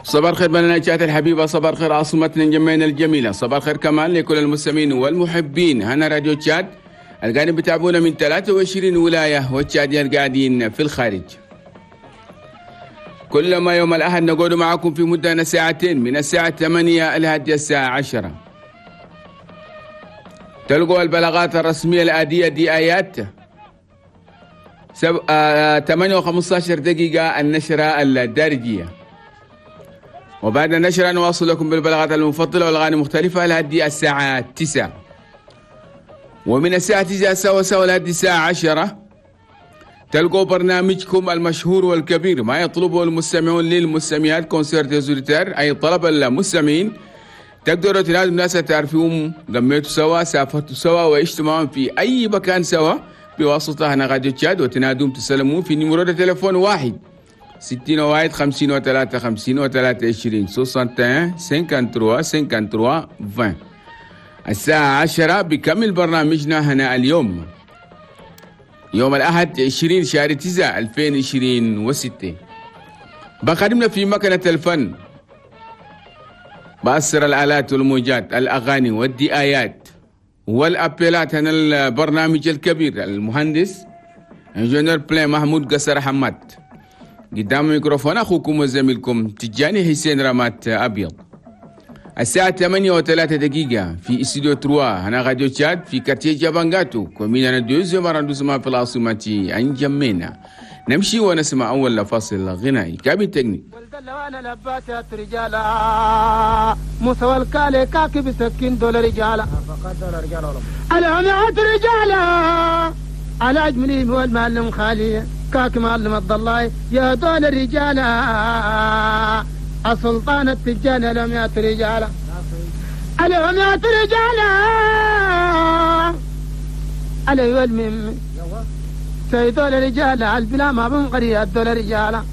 صباح الخير بلدنا تشاد الحبيبة، صباح الخير عاصمتنا انجمينا الجميلة، صباح الخير كمان لكل المستمعين والمحبين هنا راديو تشاد القاعدين بتابعونا من 23 ولاية والتشاديين القاعدين في الخارج. كل ما يوم الأحد نقعد معكم في مدة ساعتين من الساعة 8 لحد الساعة 10. تلقوا البلاغات الرسمية العادية دي آيات 8:15 دقيقة النشرة الدارجية، وبعد النشرة نواصل لكم بالبلاغات المفضلة والأغاني المختلفة لحد الساعة 9، ومن الساعة 9 سوا سوا لحد الساعة 10 تلقوا برنامجكم المشهور والكبير ما يطلبه المستمعون للمستمعات concert des auditeurs، أي طلب المستمعين. تقدروا تنادوا الناس تعرفوهم، قميتوا سوا، سافرتوا سوا، وعشتوا معهم في أي مكان سوا بواسطة هنا راديو تشاد، وتنادوهم تسلموا في numéro تليفون 1 61 53 53 20 61 53 53 20. الساعة 10 بكمل برنامجنا هنا اليوم يوم الأحد 20 شهر 9 2026. بخدمنا في مكنة الفن بأسر الآلات والموجات، الأغاني والدعايات والأبيلات هنا البرنامج الكبير المهندس ingénieur بلين محمود قصر حماد. قدام الميكروفون أخوكم وزميلكم تجاني حسين رمات أبيض. الساعة 8:03 في استوديو 3 هنا راديو تشاد في quartier جابانغاتو commune deuxième arrondissement في العاصمة انجمينا. نمشي ونسمع أول فاصل غنائي. cabine technique. وانا لباتات رجالا موسى والكالي كاكب سكين دول رجالا العميات رجالا على أجملهم هو المعلم خالي كاك معلم الضلاي يا دول رجالا السلطان التجاني العميات رجالا العميات رجالا علي والمم سيدول رجالا البلا ما بنقري الدول رجالا.